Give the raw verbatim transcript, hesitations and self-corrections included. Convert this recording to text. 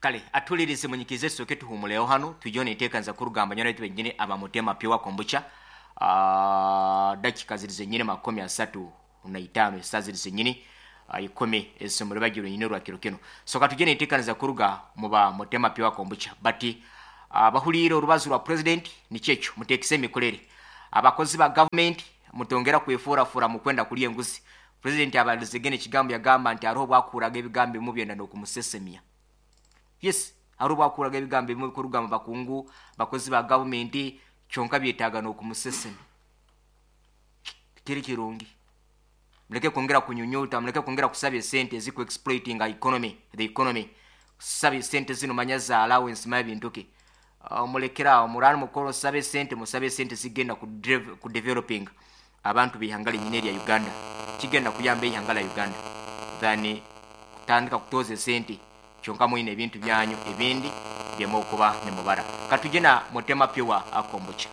Kale atulirize, munyikize, soke tuhumuleho hano, tujone ntekanza kurugamba nyana benyine abamutema pure kombucha. uh, dakika ziri zenyine makumi asatu na itano, esaa ziri zenyine uh, ikumi ezomuri bagiro nyine rwa kiro kino. So katujene ntekanza kuruga muba mutema pure kombucha bati abahuliire uh, orubazo rwa president nikyekyo, mutekise emikorere abakozi ba government, mutongera kwefurafura mukwenda kulya enguzi. President abalizegene ekigambo, yagamba nti hariho bwakuraga ebigambo bimu byenda n'okumusesemya. Yes, hariho bwakuraga ebigambo bimu kuruga mu bakungu bakozi ba gavumenti, kyonka byetaaga n'okumusesemya. Kiri kirungi, muleke kwongera kunyunyuta, muleke kwongera kusaba esente eziku exploiting economy, the economy, kusaba esente zino manya za allowance, manya bintu ki. uh, mulekerawo murani mukoro sabe sente, musabe sente zigenda ku, ku developing abantu bihanga linyine lya Uganda, kigenda kuyamba ihanga la Uganda than kutandika kutoza sente kyonka mwine ebintu byanyu ebindi byemukuba nemubara. Katujena mutema pure kombucha.